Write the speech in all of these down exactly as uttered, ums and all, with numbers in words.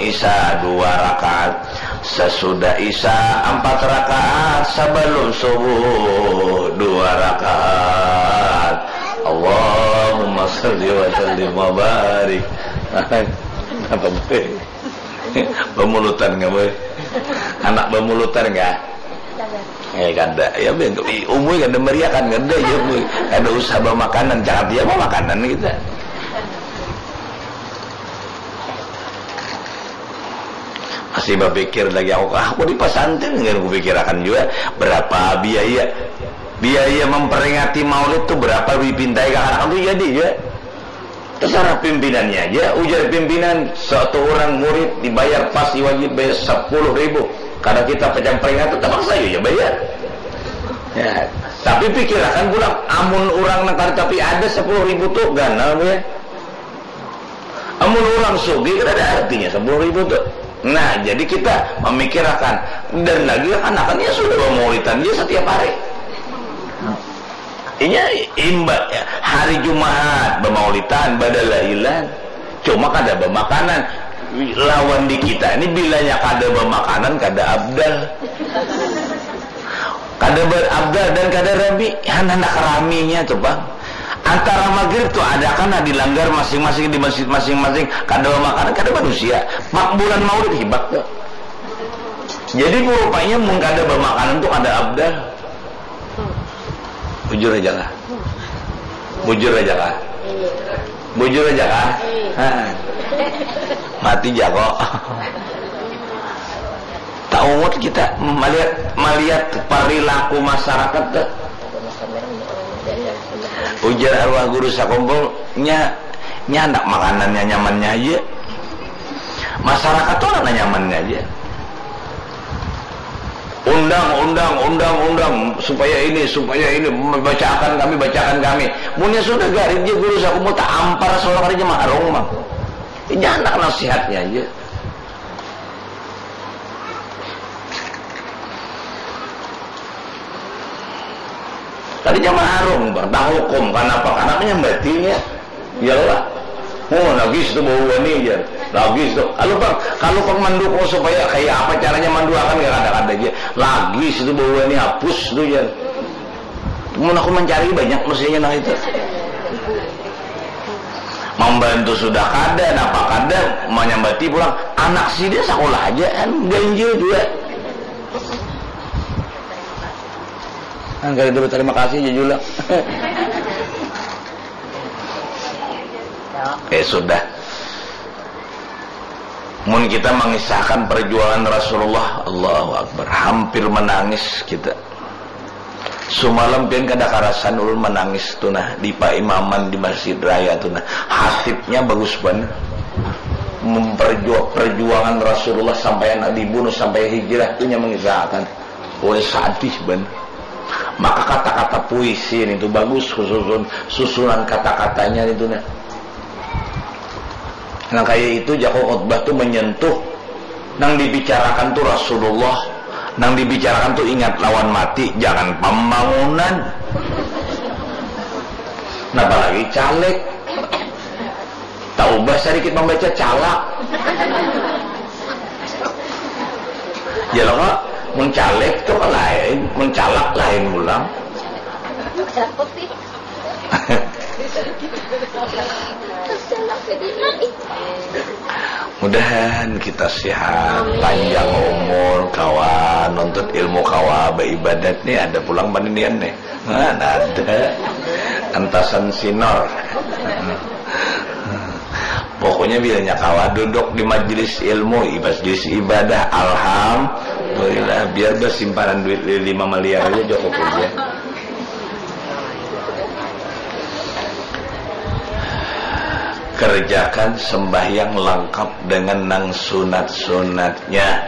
Isya dua rakaat, sesudah Isya empat rakaat, sebelum subuh dua rakaat. Allahumma salli wa sallim wa barik. Apa boy? Bamulutan nggak boy? Anak bamulutan nggak? Eh kada, ya umur kada meriakan kada ya boy. Kada usah bamakanan, jangan dia bamakanan kita. Masih berpikir lagi aku, ah, aku di pesantren nggak aku pikirakan juga berapa biaya biaya memperingati maulid tuh berapa dipintai kakak tuh jadi ya terserah pimpinannya aja. Ujar pimpinan, satu orang murid dibayar pasti wajib bayar sepuluh ribu karena kita pecah peringatan terpaksa ya bayar ya. Tapi pikirakan pulang, amun orang nang tapi ada sepuluh ribu tuh ganal ya. Amun orang sugih kada ada artinya sepuluh ribu tuh. Nah, jadi kita memikirkan dan lagi kan akan ya sudah bermaulidan dia setiap hari. Inya imba hari Jumat bermaulidan, badalailan. Cuma kada bermakanan. Lawan di kita ini bilanya kada bermakanan kada abdal. Kada berabdal dan kada rami, han handak raminya tuh bang. Antara maghrib tuh ada kan di langgar masing-masing di masjid masing-masing kada makanan kada manusia. Pak bulan maulid hibak tuh. Jadi rupanya mun kada bermakanan tuh kada abdal. Bujur aja lah. Bujur aja lah. Bujur aja kah? Ha. Mati jago. Taungut kita melihat melihat perilaku masyarakat tuh. Ujar arwah guru sakumpulnya nya anak makanannya nyamannya aja. Masyarakat tuh anak nyamannya aja. Undang, undang, undang, undang supaya ini, supaya ini bacakan kami, bacakan kami. Munnya sudah garit dia guru sakumpul tak ampar seorang hari jemaah rong mang. Ini anak nasihatnya aja. Tadi jamaah arung bang, dah hukum, kenapa? Karena menyambatinya. Iyalah. Oh, lagi situ bau wani jar. Lagi situ. Kalau bang, kalau bang mendukung supaya kayak apa caranya menduakan gak ada-ada aja. Lagi situ bau wani hapus tu jar. Mun aku mencari banyak mestinya nang itu. Membantu sudah kada, napa kada, menyambati pulang. Anak sida sekolah aja kan ganjil juga. Angkara dulu terima kasih jujula. Eh sudah. Mun kita mengisahkan perjuangan Rasulullah, Allahu Akbar, hampir menangis kita. Sumalam pian kada karasan ulun menangis tu nah di paimaman di masjid raya tu nah. Hatibnya bagus banar. Memperjuang perjuangan Rasulullah sampai anak dibunuh sampai hijrah tu nya mengisahkan. Woi sadih ben. Maka kata-kata puisi nitu bagus khususun susunan kata-katanya nitu nah. Nang kaya itu jako khutbah tu menyentuh nang dibicarakan tu Rasulullah, nang dibicarakan tu ingat lawan mati, jangan pembangunan. Napa lagi caleg. Taubah sadikit mambaca calak. Ya lo kok, mun caleg tu kan lain, mun calak lain pulang. Mudahan kita sehat, panjang umur, kawa nuntut ilmu, kawa baibadat nih, ada pulang paninian nih. Mana ada. Entasan sinor. Pokoknya bilanya kawa duduk di majelis ilmu, di majelis ibadah, alhamdulillah. Biar bersimpanan duit li- lima miliar aja cukup aja. Kerjakan sembahyang lengkap dengan nang sunat-sunatnya.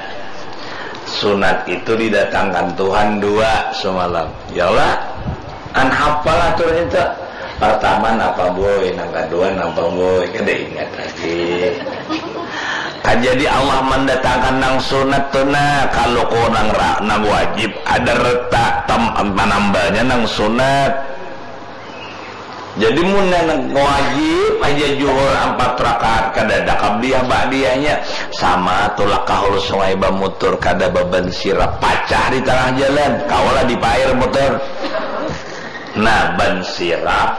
Sunat itu didatangkan Tuhan dua semalam. Ya Allah, an hafal aturan itu. Pertama napa boy, nang kedua napa boy, kada ingat lagi. Kan jadi Allah mendatangkan nang sunat tu nah, kalau ko nang ra, nang wajib ada retak tam, manambalnya nang sunat. Jadi mun nang wajib aja juhur ampat rakaat, kada ada qabliyah ba'diyahnya. Sama tulak ka hulu sungai bamutur, kada baban sirap, pacah di tangah jalan, kawa lah dipair mutur. Nah, ban sirap,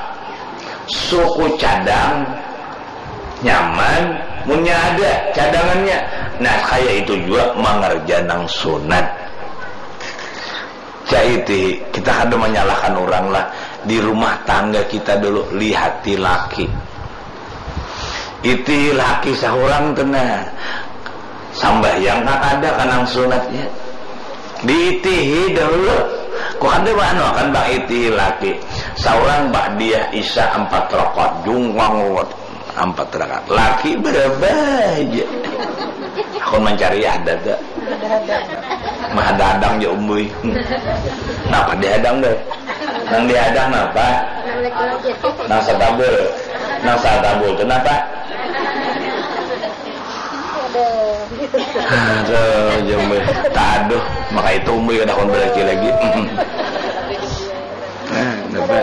suku cadang, nyaman, munnya ada cadangannya. Nah, kaya itu jua mangerja nang sunat. Cak itihi, kita kada manyalahkan urang lah. Di rumah tangga kita dulu, lihati laki. Itihi laki sahurang tu nah. Sambahyang kah kada ka nang sunatnya? Diitihi dahulu. Ku kada maanu akan bang itihi laki. Saurang ba'diyah isya ampat rakaat, jungkang ruwet. Ampat rakaat. Laki berapa aja? Aku mencari ada tak? Mahadadang ja umbui. Napa dihadang deh? Nang dihadang napa? Nang satabul. Nang satabul tu napa? Aduh, ja umbui. Taduh, maka itu umbui kada kawan berlaki lagi. Nah, napa?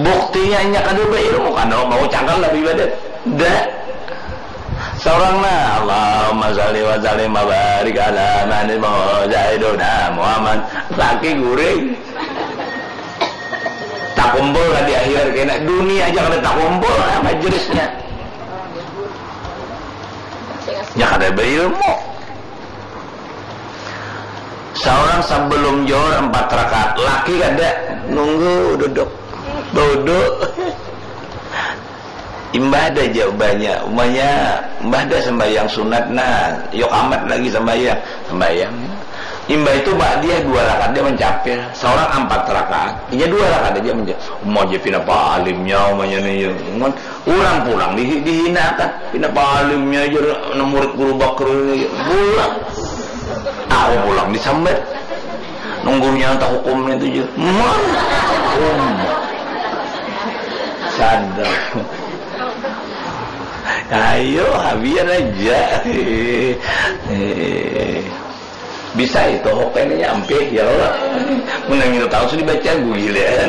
Buktinya inya kada bailmu, kada mau cangkal lah baibadat. Dah. Saurang nah, Allahumma shalli wa sallim wa barik ala man sayyidina Muhammad. Laki guring. Takumpul lah di akhirat kena. Dunia aja kada takumpul lah majlisnya. Nya kada bailmu. Saurang sabalum johor ampat rakaat, laki kada, nunggu duduk, duduk. Imbah ada ja ubahnya, umanya imbah ada sambayang sunat, nah, yok amat lagi sambayang, sambayang. Imbah itu ba'diyah dua rakaat dia mancapil, saurang ampat rakaat, inya dua rakaat aja mancapil. Uma aja pina palimnya, umanya ni, ya. Mun urang pulang di, dihinakan, pina palimnya aja, nang murid guru bakar ini, pulang. Aku pulang disambat. Nunggunya entah hukumnya itu je. Mah. Hukum. Sadar. Ayo, habian aja. Eh, bisa itu hukumnya ampih, ya Allah. Menang itu tahu sudah baca gulilan.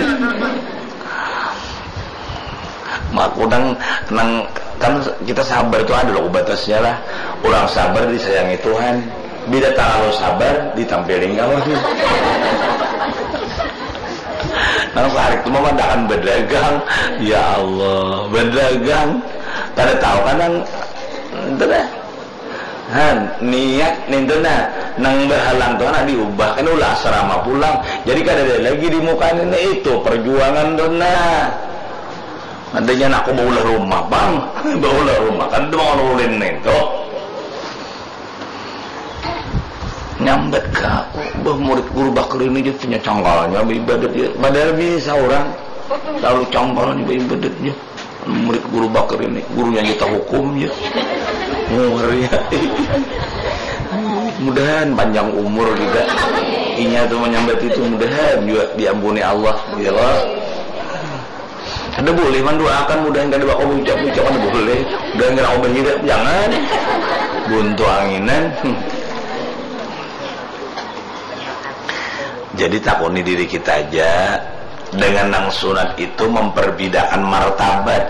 Maku nang, nang, kan kita sabar tu ada loh batasnya lah. Orang sabar disayangi Tuhan. Bila terlalu sabar, ditampilin kawan. Nang sarik tu memandakan berdagang. Ya Allah, berdagang. Kada tahu kan nang, itu dah. Han, niat nintu nah, nang bahalang tu nah diubah, kan ulah asrama pulang. Jadi kadada lagi di muka ini, itu perjuangan tu nah. Adanya nak aku baulah rumah, bang. Baulah rumah, kan tu bang ulin nintu. Nyambat ka aku, bah, murid guru bakar ini je punya canggalnya baibadat je. Padahal bisa orang, lalu canggalnya baibadat je. Murid guru bakar ini, gurunya aja tahukum je. Ngeri. Mudahan panjang umur juga. Inya tu menyambat itu, mudahan juga diampuni Allah, ya Allah. Kada boleh mendoakan mudahan kada bakal ucap-ucap, kada boleh. Mudahan kada ubah hidup, jangan. Buntu anginan. Jadi takuni diri kita aja, dengan nang sunat itu memperbidakan martabat.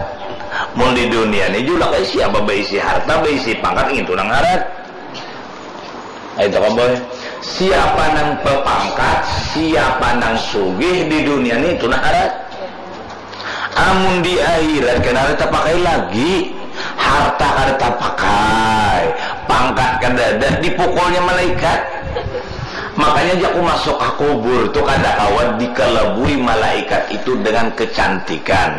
Mun di dunia ni jua kaisi apa, baisi harta, baisi pangkat, itu nang harat. Ayo tak boy. Siapa nang bapangkat, siapa nang sugih di dunia ni, itu nang harat. Amun di akhirat kada ada tapakai lagi, harta kada tapakai, pangkat kada ada, dipukulnya malaikat. Makanya jaku masuk ka kubur tu kada kawa dikalabui malaikat itu dengan kecantikan.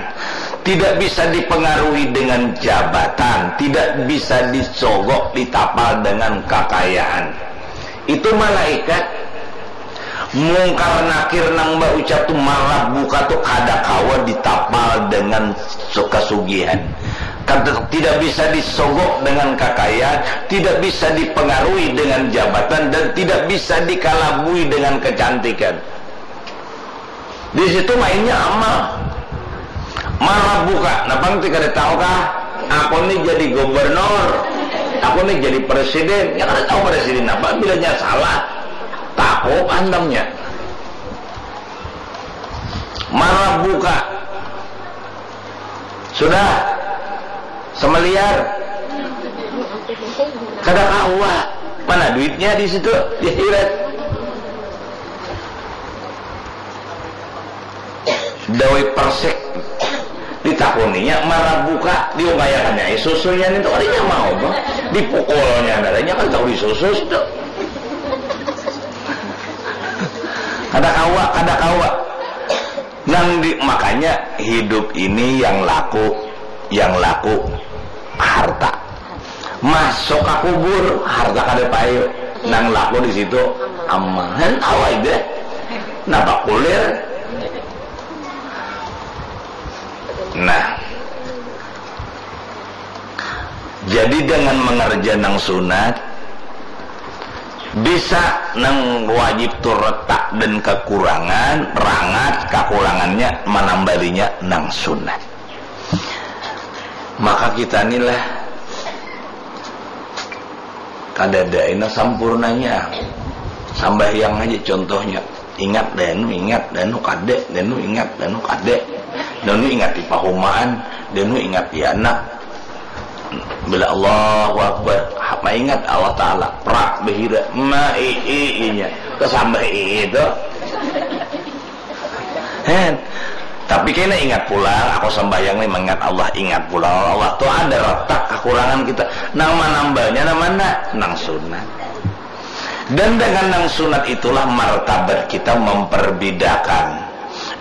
Tidak bisa dipengaruhi dengan jabatan, tidak bisa disogok ditapal dengan kakayaan. Itu malaikat. Mungkar Nakir nang baucap tu, marah buka tu kada kawa ditapal dengan su-, kasugihan. Kada, tidak bisa disogok dengan kakayaan, tidak bisa dipengaruhi dengan jabatan, dan tidak bisa dikalabui dengan kecantikan. Di situ mainnya amal. Marah buka, napa nanti kada tahu kah? Aku ni jadi gubernur, aku ni jadi presiden. Ya kada tahu presiden apa, bilanya salah. Takut antamnya. Marah buka. Sudah. Semeliar. Kada kawa. Mana duitnya di situ? Di akhirat. Dawai persik. Ditakuninya, marabuka, diungkayakannya, eh, susunya nintu kadinya mau, bah. Dipukulnya, nadanya kan tahu disusus tu. Kada kawa, kada kawa. Nang di, makanya hidup ini yang laku, yang laku harta. Masuk ka kubur, harta kada payu. Nang laku di situ amal. Hen, tahu aja. Napa kulir? Nah. Jadi dengan mengerja nang sunat, bisa nang wajib tu retak dan kekurangan, rangat, kakurangannya manambalinya nang sunat. Maka kita ni lah kadada ina sampurnanya. Sambahyang aja contohnya. Ingat danu, ingat danu, kada danu, ingat danu, kada danu, ingat di pahumaan danu, ingat di anak. Bila Allahu Akbar, ha, maingat Allah Ta'ala, prak bahira, ma i i inya, kesambah i i tu. Hen. Tapi kena ingat pulang, aku sembahyang nih mengingat Allah, ingat pulang Allah tu ada retak kekurangan kita. Nang manambahnya nang mana? Nang sunat. Dan dengan nang sunat itulah martabat kita memperbedakan.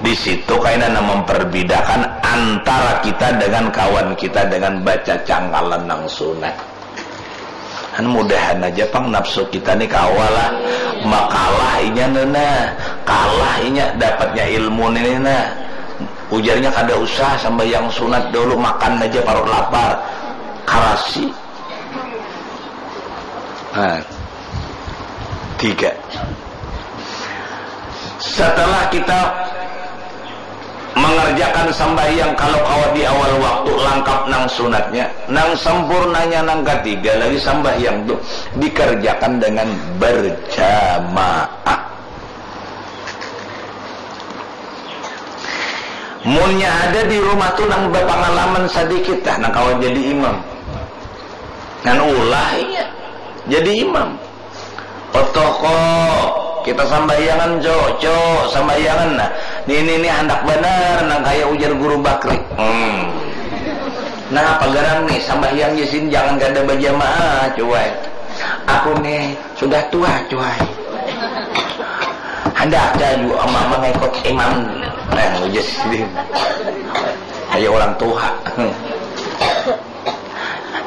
Di situ kaina nang memperbedakan antara kita dengan kawan kita dengan baca cangkalan nang sunat. Kan mudahan aja pang nafsu kita ni kawa lah. Makalah inya nena, kalah inya dapatnya ilmu ni nena. Ujarnya kada usah sambahyang sunat dulu, makan aja parut lapar. Karasi. Nah, tiga. Setelah kita mengerjakan sambahyang kalau kawa di awal waktu langkap nang sunatnya, nang sempurnanya nang katiga lagi sambahyang tu dikerjakan dengan berjamaah. Munnya ada di rumah tu nang berpengalaman sedikit dah nang kawa jadi imam, ngan ulah inya jadi imam. Otoh ko, kita sambahyangan, Cok, Cok, sambahyangan. Nah, nini ni handak banar nang kaya ujar Guru Bakri. Hmm. Nah, pagarang nih, sambahyang jasin jangan kada bajamaah, cuai. Aku nih sudah tua, cuai. Handak aja juga mama ngikut imam. Nah, ujar sidin. Kayak orang tua.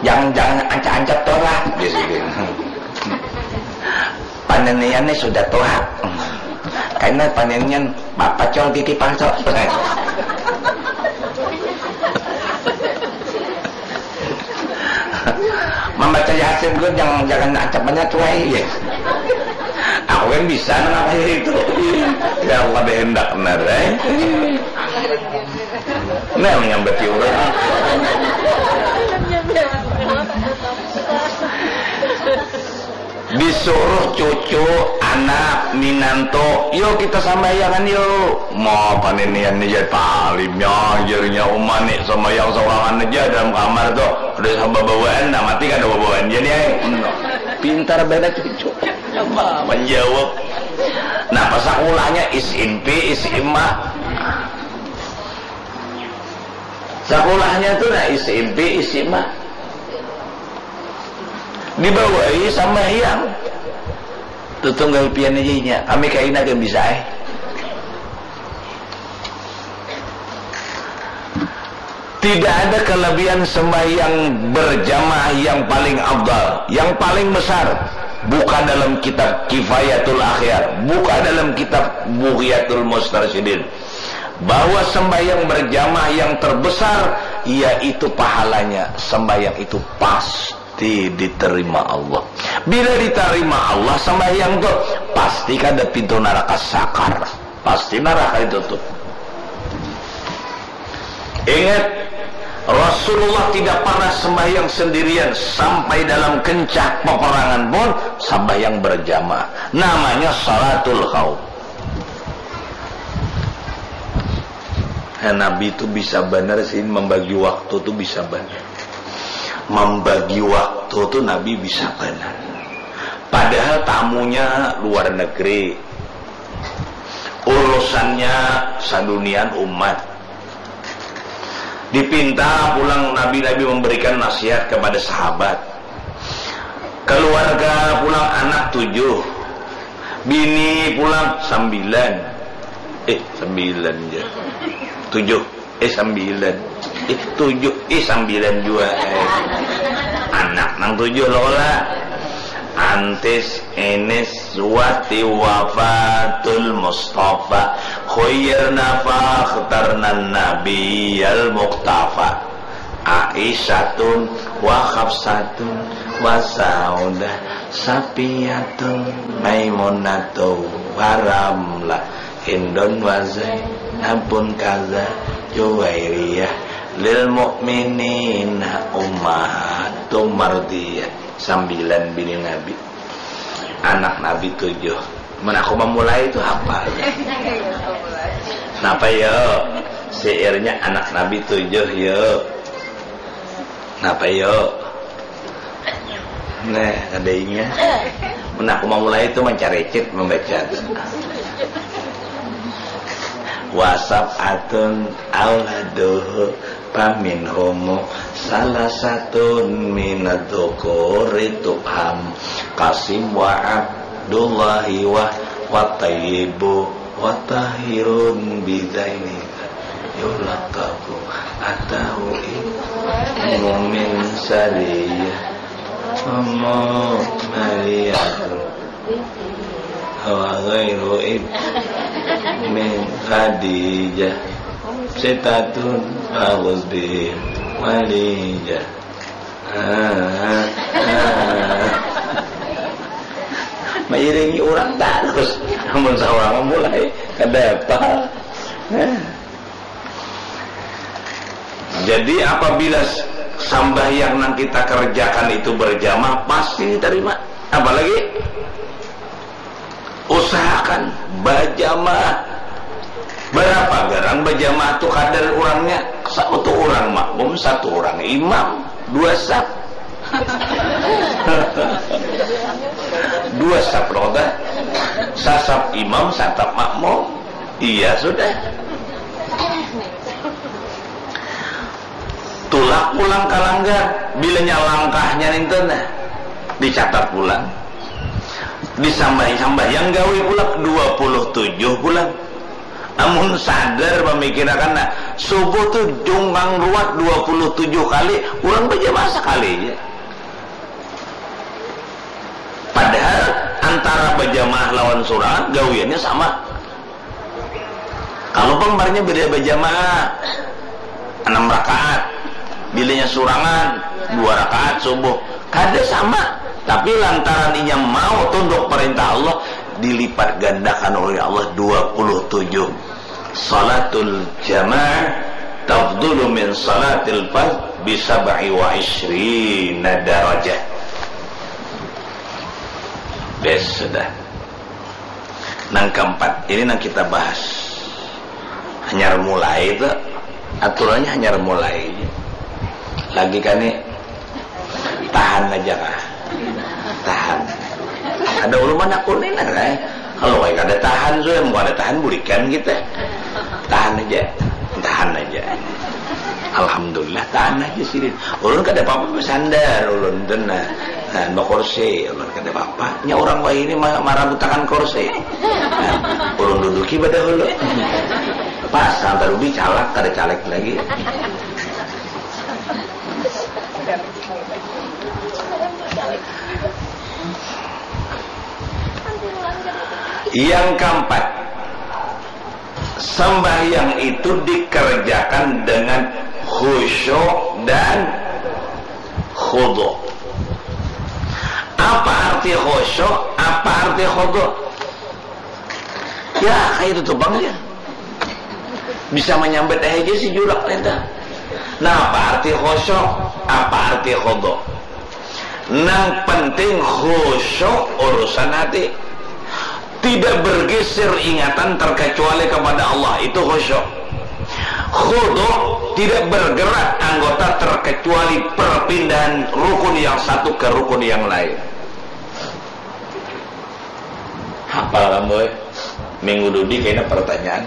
Jangan, jangan ancap-ancap tu lah, dia sudah. Paninian ni sudah tua. Karena paninian apa col gigi palsu. Membaca Yasin tu jangan, jangan ancap banyak tuai ya. Aku kan bisa nang apa itu. Ya Allah, hendak benar, eh. Nah, menyambati orang. Disuruh cucu, anak, minantu, "Yo, kita sambahyangan, yo." Mau paninian ni jadi palimnya, jarinya uma ni sambahyang saurangan aja dalam kamar tu. Ada sama bawaan, nah mati kada bawaan jadi ai. Pintar beda cucu. Apa menjawab? Nah, pas sakulahnya is impi, is ima. Sakulahnya tu nah is impi, is ima. Dibawai sambahyang. Tutunggal pian aja inya. Kami kaina gak bisa eh. Tidak ada kelebihan sembahyang berjamaah yang paling afdal, yang paling besar. Buka dalam kitab Kifayatul Akhyar, buka dalam kitab Bughyatul Mustarsyidin, bahwa sembahyang berjamaah yang terbesar yaitu pahalanya sembahyang itu pasti diterima Allah. Bila diterima Allah sembahyang tu, pasti kada pintu neraka sakar. Pasti neraka ditutup. Ingat, Rasulullah tidak pernah sembahyang sendirian sampai dalam kencah peperangan pun sembahyang berjamaah. Namanya salatul khauf. Nah, Nabi tu bisa banar sih membagi waktu tu, bisa banar. Membagi waktu tu Nabi bisa banar. Padahal tamunya luar negeri, urusannya sadunian umat. Dipinta pulang Nabi-Nabi memberikan nasihat kepada sahabat. Keluarga pulang, anak tujuh, bini pulang sambilan. Eh, sambilan ja. Tujuh. Eh, sambilan. Eh, tujuh. Eh, sambilan jua. Eh. Anak nang tujuh lo lah. Antis, Enis, Zuwati, Wafatul Mustafa. Khuyyirna fakhtarna Nabiyal Muqtafa. Aisyatun wa Hafsatun wa Saudah, Sapiyatun, Maimunatu wa Ramlah, Hindun wa Zainabun kaza Juwairiyah, lil mukminina ummahatum mardiyah. Sambilan bini Nabi. Anak Nabi tujuh. Mun aku mamulai tu hapal. Napa yo? Syairnya anak Nabi tujuh yo. Napa yo? Nah, kada ingat. Mun aku mamulai tu mancarecit mambaca. Wa sab'atun auladuhu faminhumu salasatun minadz dzukuri tubham. Qasim wa Abdullahi wa, wa Tayyibu wa Tahirun bidaini yulaqabu atahu ibnu min sariyah. Ummu Mariyah wa ghairu ib-, min Khadijah. Sitatun fakhuz bihim walijah. Ah, ah. Mairingi urang tarus. Amun saurang mulai kada apa. Ah. Jadi, apabila s-, sambahyang nang kita kerjakan itu berjamaah, pasti diterima. Apalagi usahakan bajamaah. Berapa garang bajamaah tu kadar urangnya? Satu urang makmum, satu urang imam, dua sap. Dua sap, loh, dah. Sasap imam, sasap makmum. Iya, sudah. Tulak pulang ka langgar, bilanya langkahnya ninten, nah, dicatat pulang. Disambahi-sambahi, yang gawi pulang dua puluh tujuh pulang. Amun sadar mamikirakan, nah, subuh tu jungkang ruwat dua puluh tujuh kali, urang bajamaah sakali ja. Padahal antara bajamaah lawan surangan gawiannya sama. Kalau pang barnya bila bajamaah anam rakaat, bilanya surangan dua rakaat subuh, kada sama. Tapi lantaran inya mau tunduk perintah Allah, dilipat gandakan oleh Allah dua puluh tujuh. Salatul jamaah tafdulu min salatil fard bi sab'i wa isyrina darajah. Bes, sudah. Nang keempat, ini nang kita bahas. Hanyar mulai tu, aturannya hanyar mulai. Lagi kani tahan aja kah? Tahan. Ada ulun mana kuning ada, eh. Kalau kayak kada tahan, sudah mau ada tahan bulikan kita. Tahan aja, tahan aja. Alhamdulillah, tahan aja sih. Ulun kada apa-apa bersandar, ulun tu nah. Nah, bakursi, ulun kada apa-apa. Nya urang wahini ma-, marabutakan kursi. Nah, ulun duduki badahulu. Pas, nang tarubi calak, kada caleg lagi. Yang keempat, sembahyang itu dikerjakan dengan khusyuk dan khudu. Apa arti khusyuk? Apa arti khudu? Ya, kayak itu tuh bang ya. Bisa menyambat aja si julak ninta. Nah, apa arti khusyuk? Apa arti khudu? Nang penting khusyuk urusan hati. Tidak bergeser ingatan terkecuali kepada Allah, itu khusyuk. Khudu' tidak bergerak anggota terkecuali perpindahan rukun yang satu ke rukun yang lain. Hafal kamu, eh? Minggu dudi kena pertanyaan.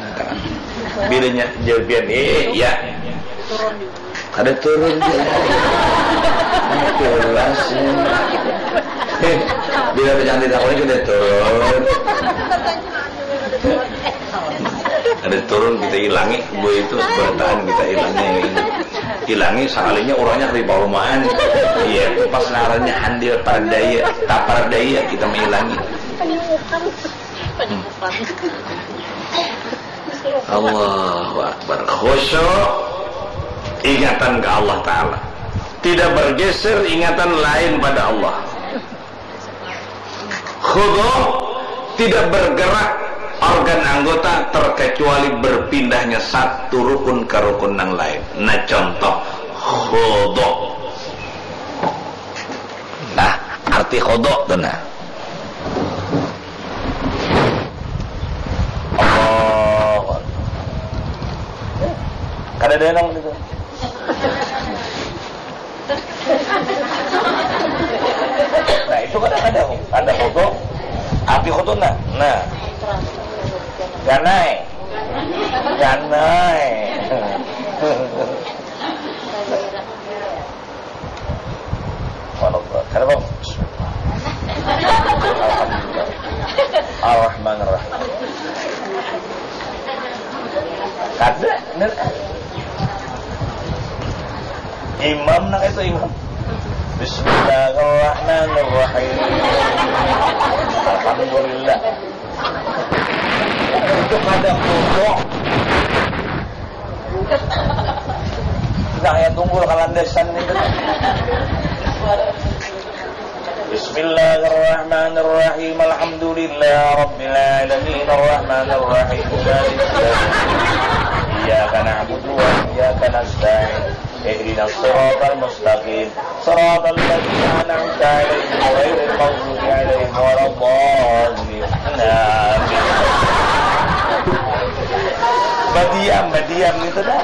Bilanya jawaban, eh, ya. Ada turun dia. Jelas. Eh, bila penyakit aku ini sudah turun. Ada turun, kita ilangi, gue itu bertahan, kita ilangi yang ini. Ilangi, sekalinya orangnya riba rumahan. Iya, itu pas ngarannya handil pardaya, tak pardaya, kita mengilangi. Allahu Akbar. Khusyuk, ingatan ke Allah Ta'ala. Tidak bergeser ingatan lain pada Allah. Khudu', tidak bergerak organ anggota terkecuali berpindahnya satu rukun ke rukun yang lain. Nah, contoh khudu'. Nah, arti khudu' tu nah. Allahu Akbar. Kada ada nang itu. Nah, itu kan ada, ada khudu'. Arti khudu' nah. Nah. Ganai. Ganai. Subhanallah. Kenapa? Alhamdulillah. Ar-Rahman Ar-Rahim. Kada, nah. Imam, nah, itu imam. Bismillahirrahmanirrahim. Alhamdulillah. Itu kada khudu'. Nah, ya, tunggul kalandasan itu. Bismillahirrahmanirrahim. Alhamdulillah Rabbil Alamin. Ar-Rahmanir Rahim. Maliki yaumiddin. Iyyaka na'budu wa iyyaka nasta'in. Ihdinas siratal mustaqim. Siratal ladzina an'amta 'alaihim ghairil maghdubi 'alaihim waladdallin. Amin. Badiam, badiam gitu dah.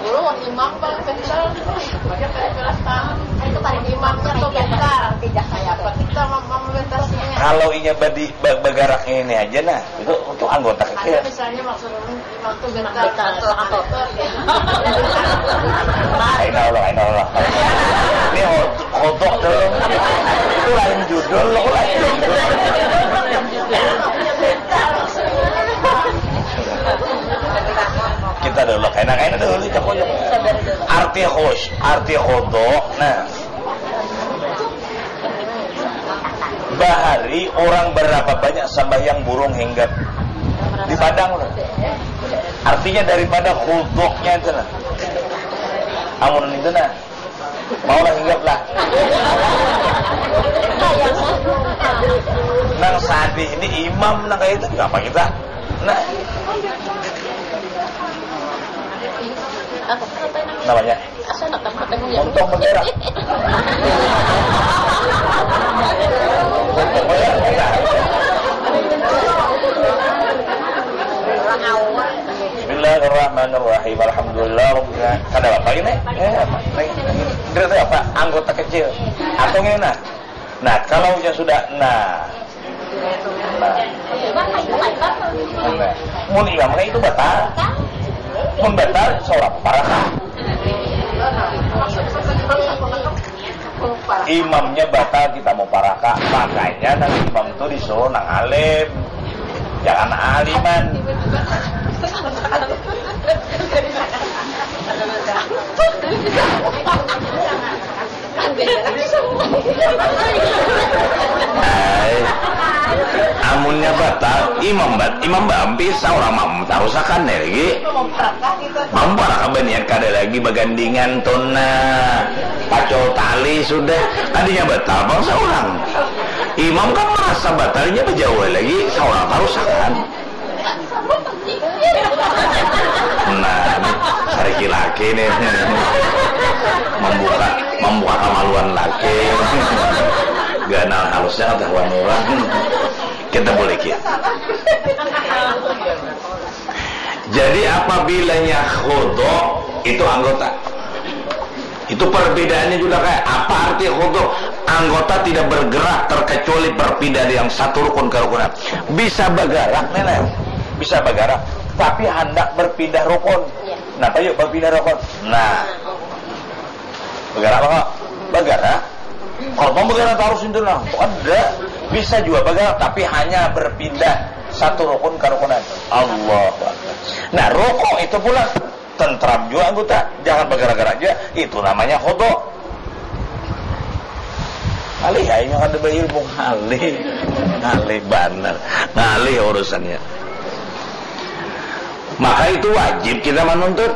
Dulu imam paling pintar. Itu paling imamnya tuh pintar. Tidak kayak apa kita memerintahnya. Kalau inya badi-, ba-, bagaraknya ini aja nah, itu, itu anggota kecil. Ada misalnya maksudnya Aina Allah, aina Allah. Ini ho-, khudu' tu. Itu lain judul, lo lain judul. Kita dulu, kaina, kaina dulu, cakap dulu. Arti khus-, arti khudu', nah. Bahari orang berapa banyak sambahyang burung hinggap di Padang tu. Artinya daripada khudu'nya itu nah. Amun itu nah. Maulah hinggap lah. Nang sadih ini imam nang kayak itu kenapa kita? Nah. Namanya? Asa anak dapat ilmu ya. Untung bergerak. Bismillahirrahmanirrahim. Alhamdulillah. Kada apa ini? Eh, apa? Ini, ini, ini apa? Anggota kecil. Atau ini nah. Nah, kalau nya sudah, nah. Nah. Nah. Mun imam kayak itu batal. Mun batal, saurang paraka. Imamnya batal, kita mau paraka. Makanya nang imam tuh disuruh nang alim. Jangan aliman. Ai, amunnya batal, imam bat-, imam baampi saurang makmum tarusakan ya lagi. Mamparaka baniat kada lagi bagandingan tuna, pacul tali sudah, kadinya batal pang saurang. Imam kan merasa batal, inya bajauh lagi, saurang tarusakan. Nah, sariki laki nih. Membuka, membuka kemaluan laki. Ganal halusnya ketahuan orang. Kita boleh kia. Jadi apabilanya khudu itu anggota. Itu perbedaannya juga kayak apa arti khudu? Anggota tidak bergerak terkecuali berpindah yang satu rukun ke rukun. Bisa bergerak nih, Neng. Bisa bergerak, tapi hendak berpindah rukun. Iya. Napa yuk berpindah rukun? Nah, bergerak apa? Bergerak. Kalau mau bergerak harus itu nah. Ada. Bisa juga bergerak, tapi hanya berpindah satu rukun ke rukunan. Allahu Akbar. Nah, rukuk itu pula tentram juga anggota, jangan bergerak-gerak juga, itu namanya khudu. Alih, aing kada berilmu, ngalih, ngalih banar, ngalih urusannya. Maka itu wajib kita menuntut.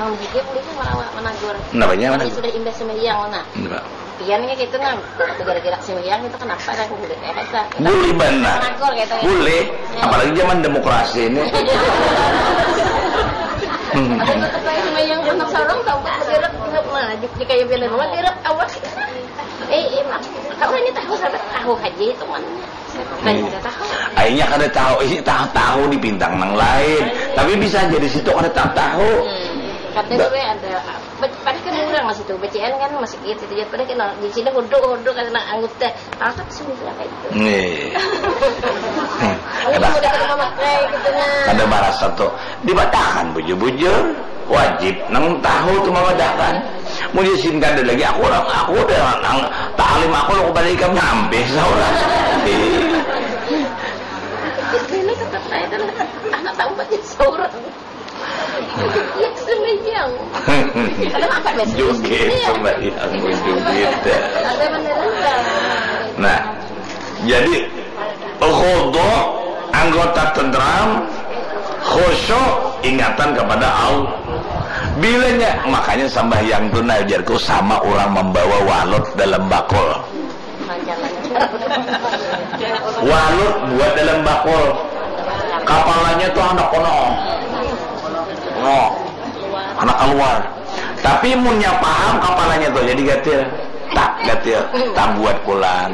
Mau gigi boleh sih melawan menagur. Kenapa? Kalau sudah indah sembahyang, nah. Enggak. Pian nya gitu nah, waktu gara-gara si William itu kenapa ada aku gede kayak kata. Boleh benar. Menagur gitu ya. Boleh. Ya. Apalagi zaman demokrasi ini. Ada tetep aja sama yang anak sarung tahu kan direk nggak maju di kayak bilang mah direk awak. Eh, eh, Mak, tahu ini tahu sampai tahu aja itu mana. Saya tidak tahu. Akhirnya kada tahu, ini tahu, tahu di bintang nang lain. Tapi bisa jadi situ kada tahu. Hmm. Katanya gue ada Ba-, padahal kan urang masih tu, bacaan kan masih gitu, gitu. Padahal kan di sini hudu, hudu kan nang anggota. Tahu tak sih berapa itu? Nih. Aku kada, udah kada memakai gitu nah. Kada marasa tu. Dibatakan bujur-bujur. Wajib nang tahu tu mabatakan. Mun di sini kada lagi, aku urang, aku udah nang taklim aku, aku balik ikam sampai saurang. Ini tetap saya tu lah. Anak tahu baca saurang. Iya, sembahyang. Kenapa, Mas? Joget, iya. Sembahyang, joget. Ada beneran, Bang. Nah, jadi khudu anggota tentram, khusyuk ingatan kepada Allah. Bilanya, makanya sambahyang tu, nah, ujarku, sama urang mambawa walut dalam bakul. Walut buat dalam bakul. Kapalanya tu handak kono. No. Handak kaluar. Tapi munnya paham kapalanya tu jadi gatil. Tak gatil. Tak buat pulang.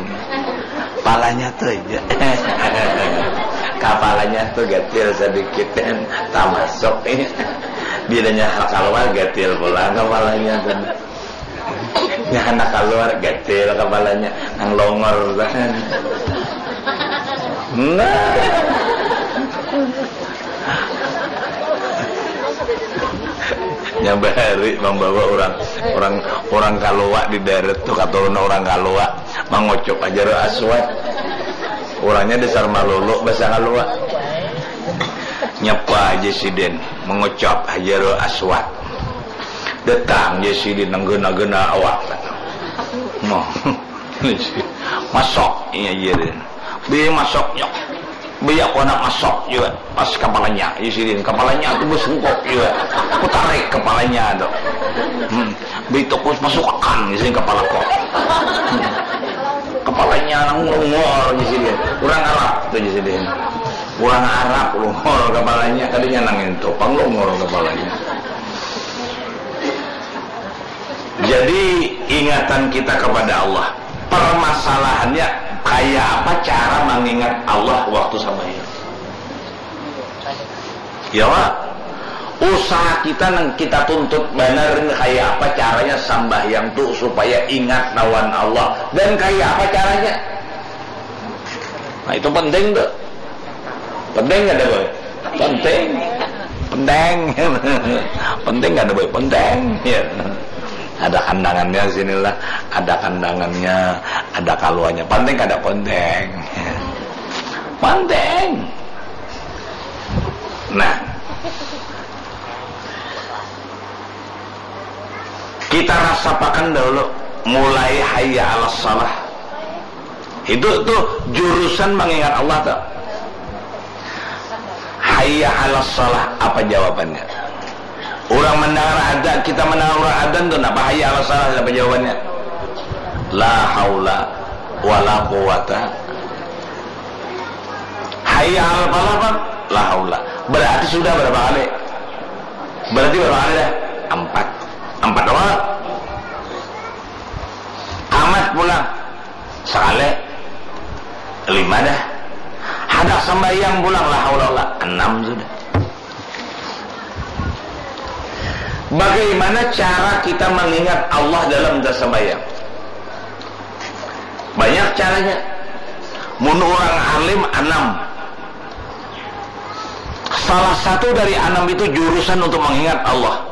Palanya tu aja. Kapalanya tu gatil sadikit dan tak masuk. Bilanya handak kaluar gatil pulang kapalanya tu. Nya handak kaluar, gatil kapalanya, nang longor. Nah. Nya bahari mambawa urang, urang, urang Kalua di darat tu, katurunan urang Kalua, mangucup Hajarul Aswad. Urangnya dasar malulu basa Kalua. Nyapa aja sidin, mangucup Hajarul Aswad. Datang ja sidin nang gena-gena awak. Noh. Masuk inya sidin. Bi masuknya. Bi aku handak masuk jua. Pas kapalanya, ja sidin. Kapalanya tu basungkuk jua. Aku tarik kapalanya tu. Hmm. Bi tu aku masukakan ja sidin kapalaku. Hmm. Kapalanya nang lungor ja sidin. Urang Arab tu ja sidin. Urang Arab lungor kapalanya. Kada nyanang itu. Pang lungor kapalanya. Jadi, ingatan kita kepada Allah. Permasalahannya, kaya apa cara mangingat Allah waktu sambahyang? Ya, Pak? Usaha kita nang kita tuntut banar ini, kaya apa caranya sambahyang tu supaya ingat lawan Allah. Dan kaya apa caranya? Nah, itu penting tu. Penting kada, Boy? Penting. Penting. Penting kada, Boy? Penting. Ya. Ada kandangannya sinilah. Ada kandangannya, ada kaluanya. Penting kada penting? Ya. Penting. Nah. Kita rasapakan dahulu mulai hayya 'alas shalah. Itu tu jurusan mangingat Allah tu. Hayya 'alas shalah, apa jawabannya? Urang mandangar adzan, kita mandangar urang adzan tu, napa hayya 'alas shalah, apa jawabannya? La haula wala quwata. Hayya 'alal falah, Bang? La haula. Berarti sudah berapa kali? Berarti berapa kali dah? Empat. Empat doang. Kamat pulang. Sekali. Lima dah. Handak sambahyang pulang, la haula wala. Enam sudah. Bagaimana cara kita mengingat Allah dalam tasambayang? Banyak caranya. Mun urang alim, anam. Salah satu dari anam itu jurusan untuk mengingat Allah.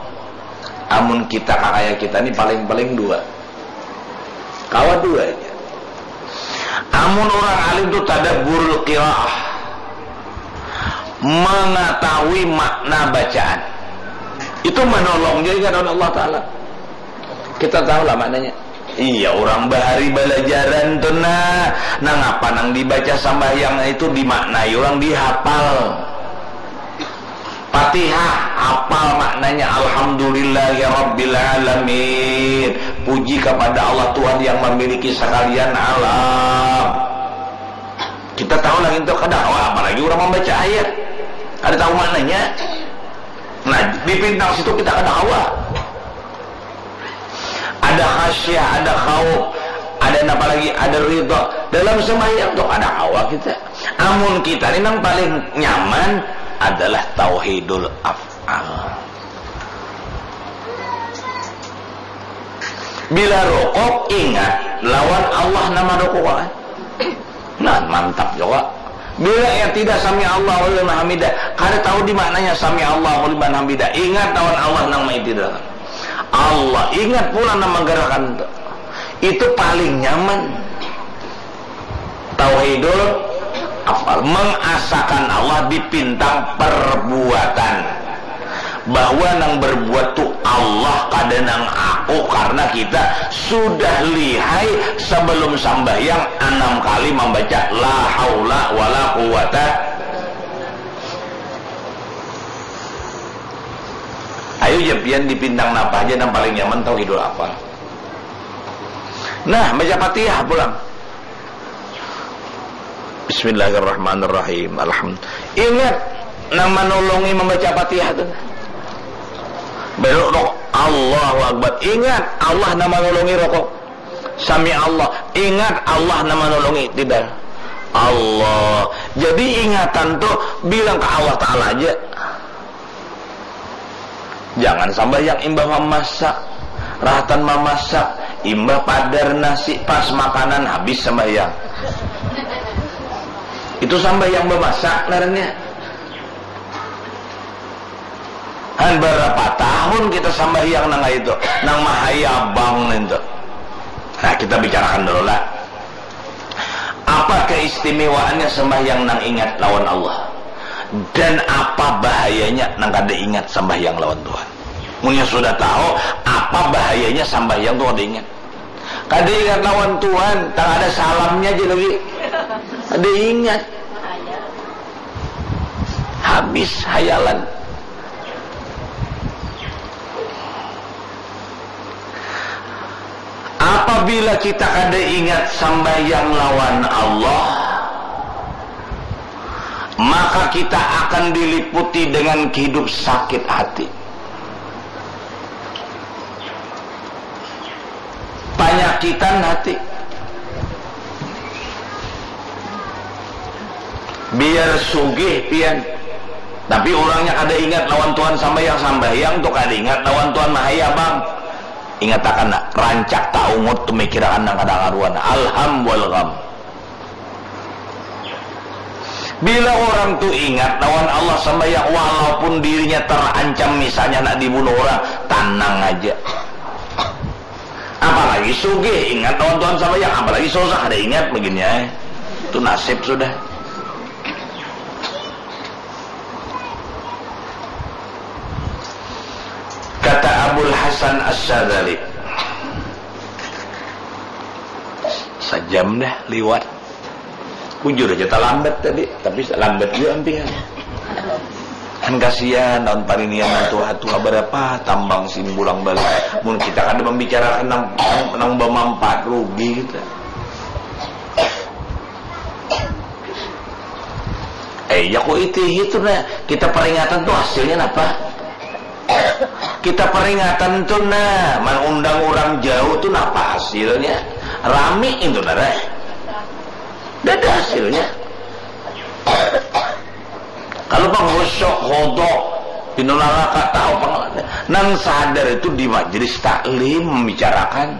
Amun kita kakaya kita ni paling-paling dua. Kawa dua aja. Amun urang alim tu tadabburul qiraah, mengetahui makna bacaan. Itu menolong juga ingat lawan Allah Ta'ala. Kita tahu lah maknanya. Iya, urang bahari balajaran tu nah, nangapa nang dibaca sambahyang itu dimaknai urang, dihapal. Fatihah, hapal maknanya, "Alhamdulillahirabbil alamin." Puji kepada Allah, Tuhan yang memiliki sekalian alam. Kita tahu lagi itu kada kawa, apalagi urang membaca ayat. Ada tahu maknanya? Nah, di pintang situ kita kada kawa. Ada khasyah, ada khauf, ada napa lagi, ada ridha. Dalam sembahyang tu kada kawa kita. Amun kita ni nang paling nyaman adalah tauhidul af'al. Bila rukuk, ingat lawan Allah nang marukukan. Nah, mantap juga. Bila yang tidak sami Allahu liman hamidah, kada tahu di mananya sami Allahu liman hamidah. Ingat lawan Allah nang maitidakan. Allah, ingat pula nang menggerakkan tu. Itu paling nyaman. Tauhidul af'al, mengasakan Allah di pintang perbuatan. Bahwa nang berbuat tu Allah, kada nang aku, karena kita sudah lihai sebelum sambahyang anam kali membaca la haula wala quwata. Ayo ja pian di pintang napa aja nang paling nyaman tauhidul af'al. Nah, baca Fatihah pulang. Bismillahirrahmanirrahim. Alhamdulillah. Ingat nang manolongi membaca Fatihah tu. Belok rokok. Allahu Akbar. Ingat Allah nang manolongi rokok. Sami Allah. Ingat Allah nang manolongi tidak. Allah. Jadi ingatan tu bilang ke Allah Ta'ala aja. Jangan sambahyang imbah mamasak, rahatan mamasak, imbah padar nasi pas makanan habis sambahyang. Itu sambahyang bamasak ngarannya. Han, berapa tahun kita sambahyang nang itu, nang mahayabang itu. Nah, kita bicarakan dulu lah. Apa keistimewaannya sembahyang nang ingat lawan Allah? Dan apa bahayanya nang kada ingat sembahyang lawan Tuhan? Munnya sudah tahu, apa bahayanya sembahyang tu kada ingat? Kada ingat lawan Tuhan, tak ada salamnya aja lagi. Kada ingat. Habis hayalan. Apabila kita kada ingat sambahyang lawan Allah, maka kita akan diliputi dengan hidup sakit hati. Panyakitan hati. Biar sugih pian, tapi urangnya kada ingat lawan Tuhan, sambahyang-sambahyang tu kada ingat lawan Tuhan, mahayabang. Ingatakan, rancak taungut tu mikirakan nang kada karuan, alham wal gham. Bila urang tu ingat lawan Allah sambahyang, walaupun dirinya tarancam, misalnya nak dibunuh urang, tanang aja. Apalagi sugih, ingat lawan Tuhan sambahyang, apalagi susah, kada ingat begini ai. Itu nasib sudah. Kata Abul Hasan Asy-Syadzali, sajam dah liwat. Bujur aja talambat tadi, tapi lambat jua ampih. Kan kasihan lawan parinian nang tuha-tuha, barapa tambang simbulang balik. Mun kita kada mambicarakan nang, nang, nang bamanfaat, rugi kita. Eh, ya ku itihi tu nah, kita peringatan tu hasilnya napa? Kita peringatan tu nah, mangundang urang jauh tu napa hasilnya? Rami itu nah, eh. Kada ada hasilnya. Kalau pang khusyuk, khudu, Pinulala ka tahu pang-, nang sadar itu di majelis taklim membicarakan.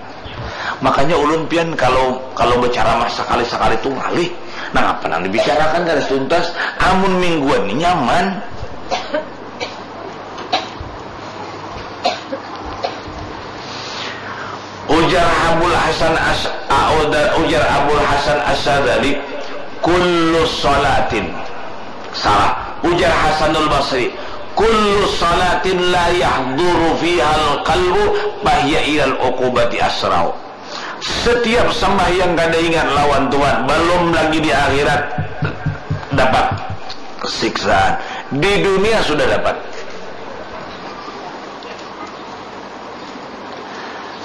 Makanya ulun pian kalau, kalau berceramah sekali-sekali tu ngalih. Nang apa nang dibicarakan kada tuntas. Amun mingguan ni nyaman. Ujar Abul Hasan As-, ah, ujar, ujar Abul Hasan As-Sadali, "Kullu salatin." Salah. Ujar Hasanul Basri, "Kullu salatin la yahduru fihal qalbu fahiya ilal uqubati asrau." Setiap sambahyang kada ingat lawan Tuhan, belum lagi di akhirat dapat siksaan. Di dunia sudah dapat.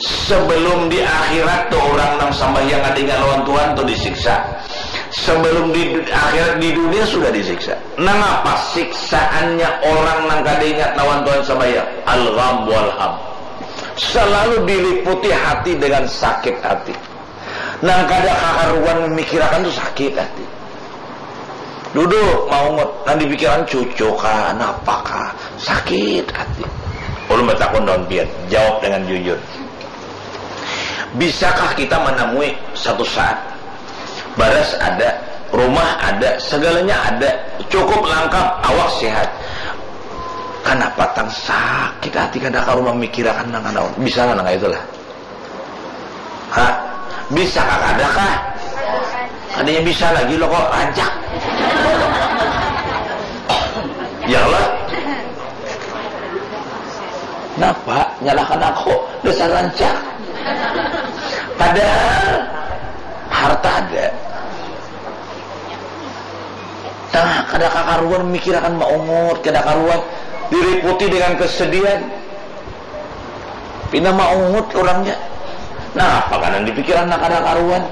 Sebelum di akhirat tu orang nang sambahyang kada ingat lawan Tuhan tu disiksa. Sebelum di du-, akhirat, di dunia sudah disiksa. Nangapa siksaannya orang nang kada ingat lawan Tuhan sambahyang? Al-gham wal ham. Selalu diliputi hati dengan sakit hati. Nang kada kakaruan memikirakan tu sakit hati. Duduk maungut, nang dipikiran cucu kah, napa kah, sakit hati. Ulun batakun lawan pian, jawab dengan jujur. Bisakah kita menemui satu saat, baras ada, rumah ada, segalanya ada, cukup lengkap, awak sehat. Kanapa tang sakit hati kada karuan memikirakan nang kanaun? Bisa nang kaya itulah. Ha? Bisa kah? Kada kah? Kadanya bisa lagi lo kok, rancak. Ya Allah. Napa? Nyalahkan aku. Dasar rancak. Padahal harta ada. Nah, kada kakaruan mikirakan maungut, kada karuan diliputi dengan kesedihan. Pina maungut urangnya. Nah, apa kanan dipikiran nak kada karuan?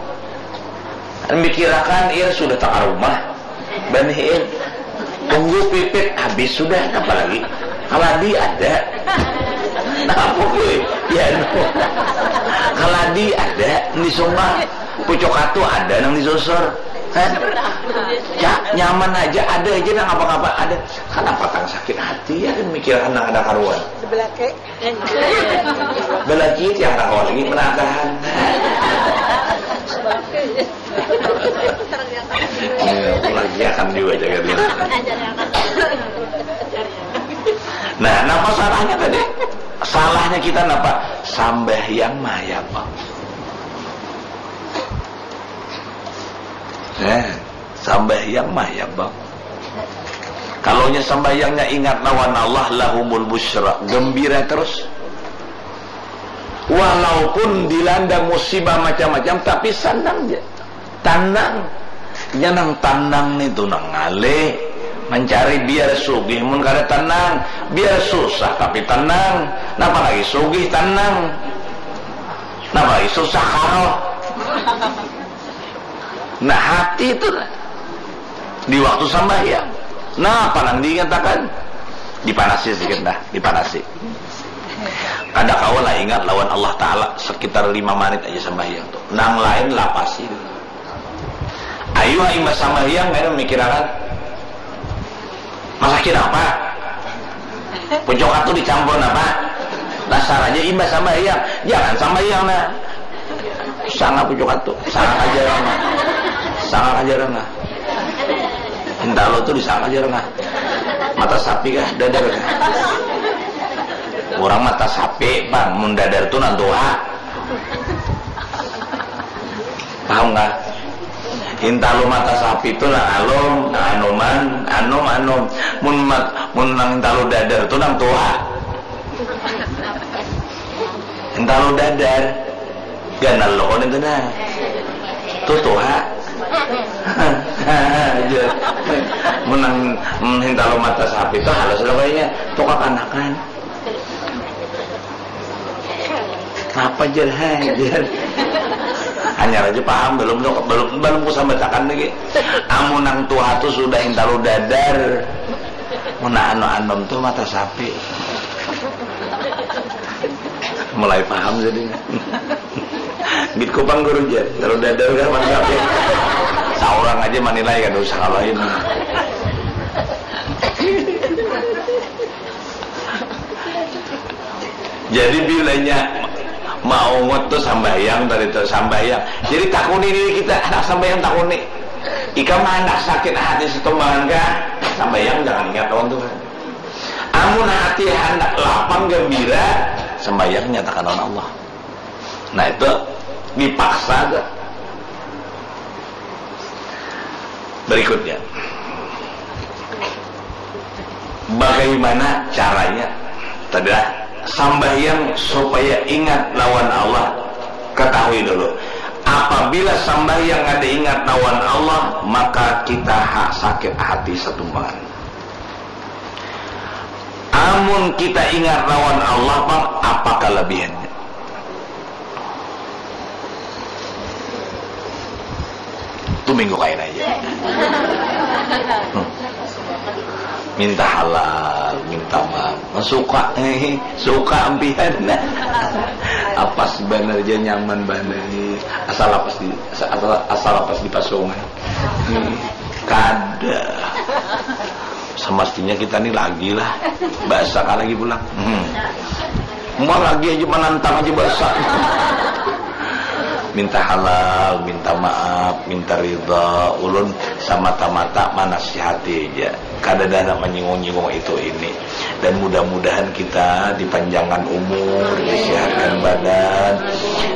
Mikirakan, iya sudah tangah rumah. Banihin. Tunggu pipit habis sudah, apa lagi? Kaladi ada. Nah, apa kuy? Ya, anu. Kaladi ada di sungai. Pucuk katu ada nang disusur. Kan? Ya, nyaman aja, ada aja nang apa-apa ada. Kenapa tang sakit hati ya kan mikirakan nang ada karuan? Sebelah ke. Belagi tiang tahu lagi menatahan. Iya, lagi akan juga jaga diri. Nah, napa salahnya tadi? Salahnya kita napa? Sambahyang mah ya, Bang. Nah, sambahyang mah ya, Bang. Kalau nya sambahyangnya ingat lawan Allah, lahumul busra, gembira terus. Walaupun dilanda musibah macam-macam, tapi sanang ja. Tanang. Nya nang tanang nitu nang ngalih. Mencari biar sugih mun kada tanang, biar susah tapi tanang. Napa lagi sugih tanang? Napa lagi susah karoh? Nah, hati itu nah. Di waktu sambahyang. Nah, apa nang diingatakan? Dipanasi sedikit dah, dipanasi. Kada kawa lah ingat lawan Allah Ta'ala sekitar lima menit aja sambahyang tu. Nang lain lapasi. Ayu, imbah sambahyang, kada mikirakan. Masakin apa? Pucuk atu dicampur napa? Dasar aja imbah sambahyang. Jangan sambahyang nah. Sanga pucuk atu, sanga kajarang. Sanga kajarang nah. Hintalu tu disanga kajarang nah. Mata sapi kah, dadar kah? Orang mata sapi, Bang, mun dadar tu nang tuha. Paham kah? Hintalu mata sapi tu nang alum, nang anuman, anum, anum. Mun mat-, mun nang hintalu dadar tu nang tuha. Hintalu dadar. Ganal lo kon itu nah. Tu tuha. Mun nang, mun hintalu mata sapi tu halus lo kayaknya. Tu kakanakan. Apa jar, hai, jar. Hanyar aja paham, belum, belum, belum kusambatakan lagi. Amun nang tuha tu sudah hintalu dadar. Mun anu anom tu mata sapi. Mulai paham jadinya. Git kupang guru jar, hintalu dadar kan mata sapi. Saurang aja manilai, kada usah kalain. Jadi bilanya maungut tu sambahyang tadi tu, sambahyang. Jadi takuni diri kita, handak sambahyang takuni. Ikam handak sakit hati satumbangan kah? Sambahyang jangan ingat lawan Tuhan. Amun hati handak lapang gembira, sambahyang nyatakan lawan Allah. Nah itu dipaksa tu. Berikutnya, bagaimana caranya? Tadi lah, sambahyang supaya ingat lawan Allah. Ketahui dulu, apabila sambahyang kada ingat lawan Allah, maka kita ha sakit hati satumbangan. Amun kita ingat lawan Allah pang, apa kelebihannya? Tu minggu kain aja. Hmm. Minta halal, minta maaf. Suka, suka ampihan. Apas banar aja, nyaman banar. Asal lapas di, asal, asal lapas di pasungan. Hmm. Kada. Semestinya kita ni lagi lah. Bahasa kah lagi pulang. Hmm. Mau lagi aja, menantang aja bahasa. Minta halal, minta maaf, minta ridha. Ulun semata-mata manasihati aja. Kada ada nak menyinggung-nyinggung itu ini. Dan mudah-mudahan kita dipanjangkan umur, disehatkan badan,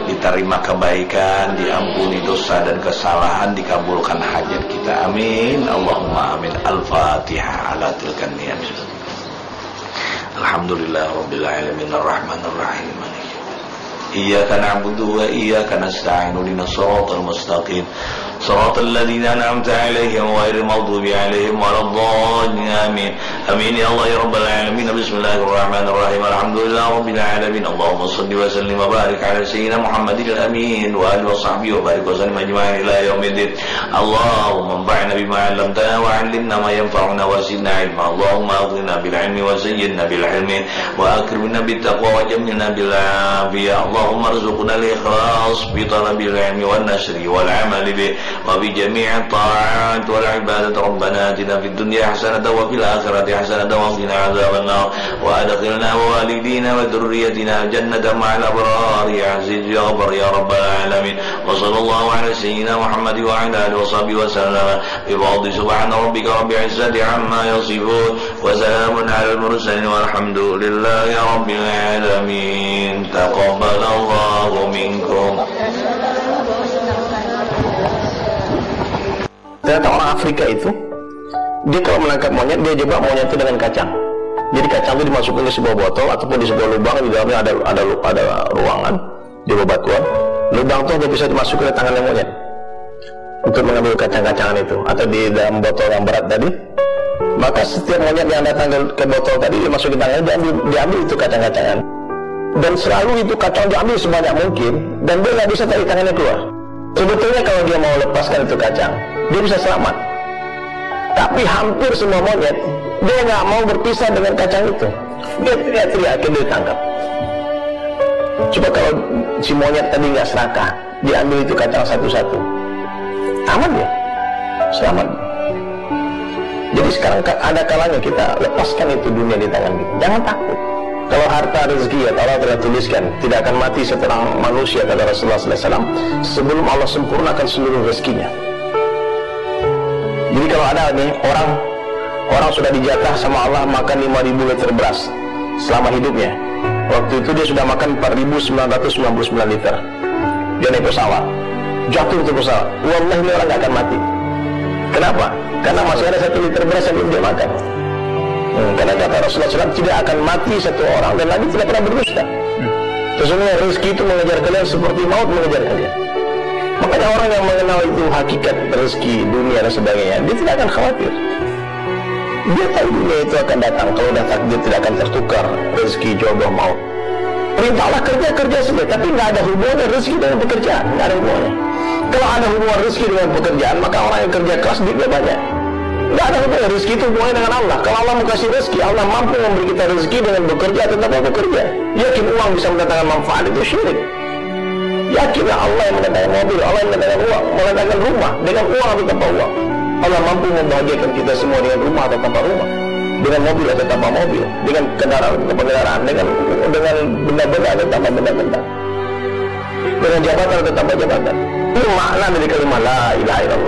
diterima kebaikan, diampuni dosa dan kesalahan, dikabulkan hajat kita. Amin. Allahumma amin. Al-Fatihah ala tilkan niat. Alhamdulillah Rabbil Alamin. Ar-Rahmanir Rahim. Iyyaka na'budu wa iyyaka nasta'in. Ihdinas siratal mustaqim. Siratal ladzina an'amta 'alaihim ghairil maghdubi 'alaihim waladdallin. Amin. Amin ya Allah ya Rabbal Alamin. Bismillahirrahmanirrahim. Alhamdulillah Rabbil Alamin. Allahumma salli wa sallim wa barik ala Sayyidina Muhammadil Amin wa alihi wa sahbihi wa barik wa sallim ajma'in ila yaumiddin. Allahumma anfa'na bima 'allamtana wa 'allimna ma yanfa'una wa zidna ilma. Allahumma aghnina bil ilmi wa zayyinna bil hilmi wa akrimna bit taqwa wa jamilna bil afiyah. Allahumma arzuqna al ikhlas fi talabil ilmi wan nashri wal amali bih wa fi jami'it ta'at wal ibadat. Rabbana atina fid dunya hasanatan wa fil akhirati hasanatan wa qina adzabannar. Wa adkhilna wa walidina wa dzurriyyatina jannata ma'al abrar ya aziz ya ghaffar ya rabbal alamin. Wa sallallahu ala sayyidina Muhammad wa ala alihi wa sahbihi wa sallam. Bi fadli subhana rabbika rabbil izzati amma yasifun. Wa salamun alal mursalin walhamdulillahi rabbil alamin. Taqabbalallahu minkum. Ternyata orang Afrika itu, dia kalau menangkap monyet, dia jebak monyet itu dengan kacang. Jadi kacang itu dimasukkan ke sebuah botol ataupun di sebuah lubang, di dalamnya ada ada ada ruangan, di bebatuan. Lubang itu hanya bisa dimasuki oleh tangannya monyet untuk mengambil kacang-kacangan itu, atau di dalam botol yang berat tadi. Maka setiap monyet yang datang ke, ke botol tadi, dimasuki tangannya, diambil, diambil itu kacang-kacangan. Dan selalu itu kacang diambil sebanyak mungkin, dan dia nggak bisa tarik tangannya keluar. Sebetulnya kalau dia mau lepaskan itu kacang, dia bisa selamat. Tapi hampir semua monyet, dia nggak mau berpisah dengan kacang itu. Dia teriak-teriak, akhirnya ditangkap. Coba kalau si monyet tadi nggak serakah, diambil itu kacang satu-satu, aman dia, selamat. Jadi sekarang ka- ada kalanya kita lepaskan itu dunia di tangan kita. Jangan takut. Kalau harta, rezeki, ya, Allah telah tuliskan, tidak akan mati seorang manusia, kata Rasulullah sallallahu alaihi wasallam, sebelum Allah sempurnakan seluruh rezekinya. Jadi kalau ada nih orang, orang sudah dijatah sama Allah makan lima ribu liter beras selama hidupnya. Waktu itu dia sudah makan empat ribu sembilan ratus sembilan puluh sembilan liter. Dia naik pesawat, jatuh itu pesawat. Wallahi, ini orang nggak akan mati. Kenapa? Karena masih ada satu liter beras yang belum dia makan. Hmm, karena kata Rasulullah sallallahu alaihi wasallam, tidak akan mati satu orang dan Nabi tidak pernah berdusta. Sesungguhnya rezeki itu mengejar kalian seperti maut mengejar kalian. Makanya orang yang mengenal itu hakikat rezeki, dunia dan sebagainya, dia tidak akan khawatir. Dia tahu dunia itu akan datang, kalau dah takdir tidak akan tertukar rezeki, jodoh, maut. Perintah Allah kerja, kerja saja, tapi nggak ada hubungannya rezeki dengan pekerjaan, nggak ada hubungannya. Kalau ada hubungan rezeki dengan pekerjaan, maka orang yang kerja keras duitnya banyak. Nggak ada hubungannya rezeki itu hubungannya dengan Allah. Kalau Allah mau kasih rezeki, Allah mampu memberi kita rezeki dengan bekerja atau tanpa bekerja. Yakin uang bisa mendatangkan manfaat itu syirik. Yakinlah Allah yang mendatangkan mobil, Allah yang mendatangkan uang, mendatangkan rumah dengan uang atau tanpa uang. Allah mampu membahagiakan kita semua dengan rumah atau tanpa rumah. Dengan mobil ada tambah mobil, dengan kendaraan ada tambah kendaraan, dengan dengan benda-benda ada tambah benda-benda, dengan jabatan ada tambah jabatan. Ini makna dari kalimat la ilaha illallah.